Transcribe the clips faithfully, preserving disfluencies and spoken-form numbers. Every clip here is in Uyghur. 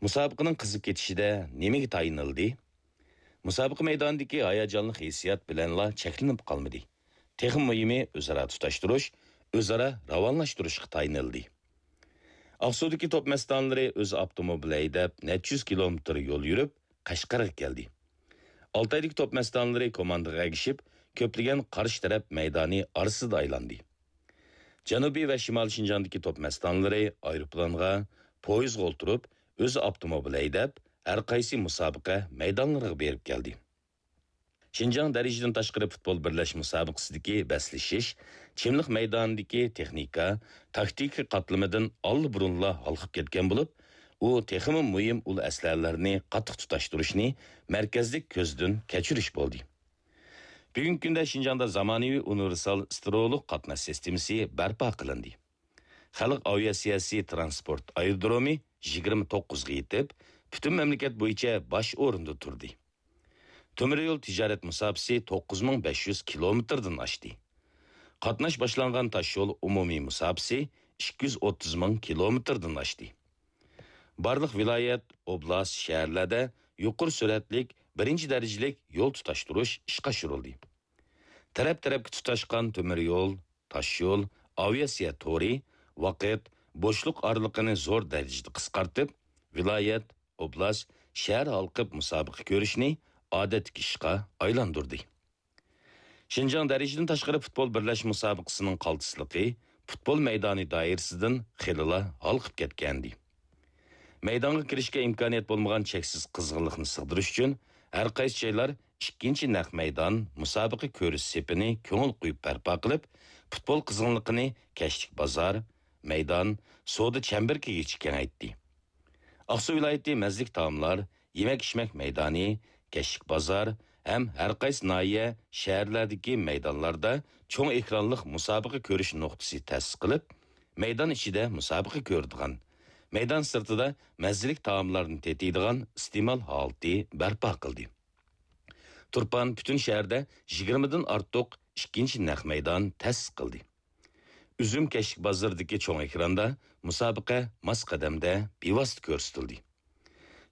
مۇسابىقىنىڭ قىزىپ كېتىشىدە نېمىگە تايىنىلدى؟ مۇسابىقە مەيدانىدىكى ھاياجانلىق ھېسسىيات بىلەنلا چەكلىنىپ قالمىدى. تېخىمۇ مۇھىمى ئۆزئارا تۇتاشتۇرۇش، ئۆزئارا راۋانلاشتۇرۇشقا تايىنىلدى. ئاقسۇدىكى توپ مەستانىلىرى ئۆز ئاپتوموبىل ھەيدەپ، نەچچە يۈز كىلومېتىر يول يۈرۈپ، قەشقەرگە كەلدى. ئالتايدىكى توپ مەستانىلىرى كوماندىغا ئەگىشىپ، كۆپلىگەن قارشى تەرەپ مەيدانى ئارىسىدا ئايلاندى. جەنۇبىي ۋە شىمالىي شىنجاڭدىكى توپ مەستانىلىرى ئايروپىلانغا، پويىزغا ئولتۇرۇپ، ئۆز ئاپتوموبىل ھەيدەپ، ھەر قايسى مۇسابىقە مەيدانلىرىغا بېرىپ كەلدى. شىنجاڭ دەرىجىدىن تاشقىرى پۇتبول بىرلەشمە مۇسابىقىسىدىكى بەسلىشىش چىملىق مەيدانىدىكى تېخنىكا، تاكتىكا قاتلىمىدىن ئاللىبۇرۇنلا ھالقىپ كەتكەن بولۇپ، ئۇ تېخىمۇ مۇھىم ئۇل ئەسلىھەلەرنى قاتتىق تۇتاشتۇرۇشنى مەركەزلىك كۆزدىن كەچۈرۈش بولدى. بۈگۈنكى كۈندە شىنجاڭدا زامانىۋى ئۇنىۋېرسال ستېرېئولۇق قاتناش سىستېمىسى بەرپا قىلىندى. خەلق ئاۋىئاتسىيەسى تىرانسپورت ئايرودرومى يىگىرمە توققۇزغا يېتىپ، پۈتۈن مەملىكەت بويىچە باش ئورۇندا تۇردى. تۆمۈر يول تىجارەت مۇساپىسى توققۇز مىڭ بەش يۈز كىلومېتىردىن ئاشتى. قاتناش باشلانغان تاش يول ئومۇمىي مۇساپىسى ئىككى يۈز ئوتتۇز مىڭ كىلومېتىردىن ئاشتى. بارلىق ۋىلايەت، ئوبلاست، شەھەرلەردە يۇقىرى سۈرئەتلىك بىرىنچى دەرىجىلىك يول تۇتاشتۇرۇش ئىشقا ئاشۇرۇلدى. تەرەپ-تەرەپكە تۇتاشقان تۆمۈر يول، تاش يول، ئاۋىئاتسىيە تورى ۋاقىت، بوشلۇق ئارىلىقىنى زور دەرىجىدە قىسقارتىپ، ۋىلايەت، ئوبلاست، شەھەر ھالقىپ مۇسابىقە كۆرۈشنى ئادەتتىكى ئىشقا ئايلاندۇردى. شىنجاڭ دەرىجىدىن تاشقىرى پۇتبول بىرلەشمە مۇسابىقىسىنىڭ قالتىسلىقى پۇتبول مەيدانى دائىرىسىدىن خېلىلا ھالقىپ كەتكەنىدى. مەيدانغا كىرىشكە ئىمكانىيەت بولمىغان چەكسىز قىزغىنلىقنى سىغدۇرۇش ئۈچۈن، ھەر قايسى جايلار ئىككىنچى نەق مەيدان، مۇسابىقە كۆرۈش سېپىنى كۆڭۈل قويۇپ بەرپا قىلىپ، پۇتبول قىزغىنلىقىنى كەچلىك بازار، مەيدان، سودا چەمبىرىكىگىچە كېڭەيتتى. ئاقسۇ ۋىلايىتى مەززىلىك تائاملار، يېمەك-ئىچمەك مەيدانى، كەچلىك بازار ھەم ھەر قايسى ناھىيە، شەھەرلەردىكى مەيدانلاردا چوڭ ئېكرانلىق مۇسابىقە كۆرۈش نۇقتىسى تەسىس قىلىپ، مەيدان ئىچىدە مۇسابىقە كۆرىدىغان، مەيدان سىرتىدا مەززىلىك تائاملارنى تېتىيدىغان ئىستېمال ھالىتى بەرپا قىلدى. تۇرپان پۈتۈن شەھەردە يىگىرمىدىن ئارتۇق ئىككىنچى نەق مەيدان تەسىس قىلدى. ئۈزۈم كەچلىك بازىرىدىكى چوڭ ئېكراندا مۇسابىقە ماس قەدەمدە بىۋاسىتە كۆرسىتىلدى.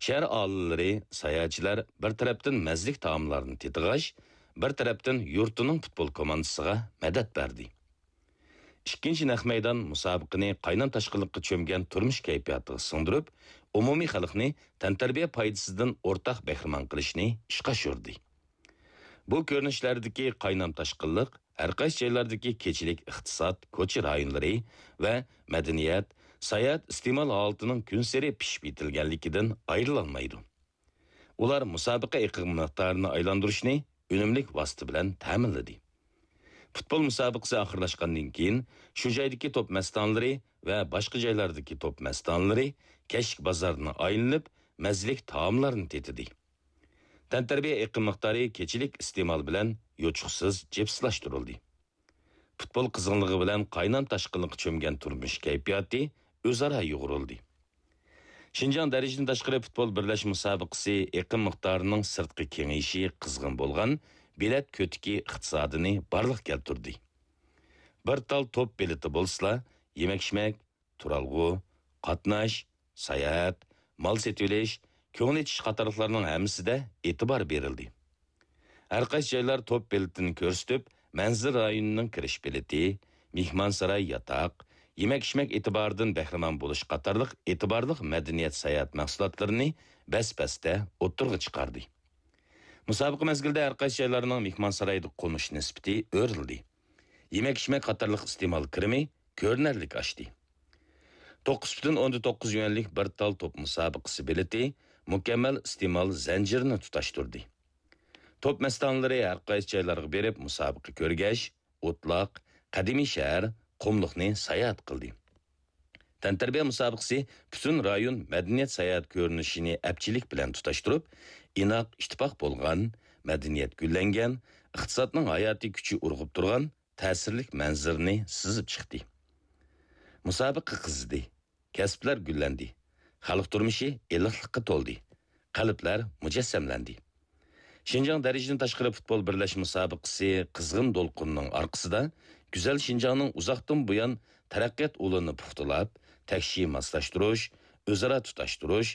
شەھەر ئاھالىلىرى، ساياھەتچىلەر بىر تەرەپتىن مەززىلىك تائاملارنى تېتىغاچ، بىر تەرەپتىن يۇرتىنىڭ پۇتبول كوماندىسىغا مەدەت بەردى. ئىككىنچى نەق مەيدان مۇسابىقىنى قاينام تاشقىنلىققا چۆمگەن تۇرمۇش كەيپىياتىغا سىڭدۈرۈپ، ئومۇمىي خەلقنى تەنتەربىيە پايدىسىدىن ئورتاق بەھرىمەن قىلىشنى ئىشقا ئاشۇردى. بۇ كۆرۈنۈشلەردىكى قاينام تاشقىنلىق ھەر قايسى جايلاردىكى كېچىلىك ئىقتىساد، كوچا رايونلىرى ۋە مەدەنىيەت، ساياھەت ئىستېمال ھالىتىنىڭ كۈنسېرى پىشىپ يېتىلگەنلىكىدىن ئايرىلالمايدۇ. ئۇلار مۇسابىقە ئېقىم مىقدارىنى ئايلاندۇرۇشنى ئۈنۈملۈك ۋاسىتە بىلەن تەمىنلىدى. پۇتبول مۇسابىقىسى ئاخىرلاشقاندىن كېيىن، شۇ جايدىكى توپ مەستانىلىرى ۋە باشقا جايلاردىكى توپ مەستانىلىرى كەچلىك بازارنى ئايلىنىپ، مەززىلىك تائاملارنى تېتىدى. تەنتەربىيە ئېقىم مىقدارى كېچىلىك ئىستېمال بىلەن يوچۇقسىز جىپسلاشتۇرۇلدى. پۇتبول قىزغىنلىقى بىلەن قاينام تاشقىنلىققا چۆمگەن تۇرمۇش كەيپىياتى ئۆزئارا يۇغۇرۇلدى. شىنجاڭ دەرىجىدىن تاشقىرى پۇتبول بىرلەشمە مۇسابىقىسى ئېقىم مىقدارىنىڭ سىرتقا كېڭىيىشى قىزغىن بولغان بېلەت كۆتىكى ئىقتىسادىنى بارلىققا كەلتۈردى. بىر تال توپ بېلىتى بولسىلا، يېمەك-ئىچمەك، تۇرالغۇ، قاتناش، ساياھەت، مال سېتىۋېلىش، كۆڭۈل ئېچىش قاتارلىقلارنىڭ ھەممىسىدە ئېتىبار بېرىلدى. ھەر قايسى جايلار توپ بېلىتىنى كۆرسىتىپ، مەنزىرە رايونىنىڭ كىرىش بېلىتى، مېھمانساراي ياتاق، يېمەك-ئىچمەك ئېتىبارىدىن بەھرىمەن بولۇش قاتارلىق ئېتىبارلىق مەدەنىيەت ساياھەت مەھسۇلاتلىرىنى بەس-بەستە ئوتتۇرىغا چىقاردى. مۇسابىقە مەزگىلىدە ھەر قايسى جايلارنىڭ مېھمانسارايدا قونۇش نىسبىتى ئۆرلىدى. يېمەك-ئىچمەك قاتارلىق ئىستېمال كىرىمى كۆرۈنەرلىك ئاشتى. توققۇز پۈتۈن ئوندىن توققۇز يۈەنلىك بىر تال توپ مۇسابىقىسى بېلىتى مۇكەممەل ئىستېمال زەنجىرىنى تۇتاشتۇردى. توپ مەستانىلىرى ھەر قايسى جايلارغا بېرىپ مۇسابىقە كۆرگەچ، ئوتلاق، قەدىمىي شەھەر، قۇملۇقنى ساياھەت قىلدى. تەنتەربىيە مۇسابىقىسى پۈتۈن رايون مەدەنىيەت ساياھەت كۆرۈنۈشىنى ئەپچىللىك بىلەن تۇتاشتۇرۇپ، ئىناق، ئىتتىپاق بولغان، مەدەنىيەت گۈللەنگەن، ئىقتىسادنىڭ ھاياتىي كۈچى ئۇرغۇپ تۇرغان تەسىرلىك مەنزىرىنى سىزىپ چىقتى. مۇسابىقە قىزىدى، كەسىپلەر گۈللەندى، خەلق تۇرمۇشى ئىللىقلىققا تولدى، قەلبلەر مۇجەسسەملەندى. شىنجاڭ دەرىجىدىن تاشقىرى پۇتبول بىرلەشمە مۇسابىقىسى قىزغىن دولقۇننىڭ ئارقىسىدا، گۈزەل شىنجاڭنىڭ ئۇزاقتىن بۇيان تەرەققىيات ئۇلىنى پۇختىلاپ، تەكشى ماسلاشتۇرۇش، ئۆزئارا تۇتاشتۇرۇش،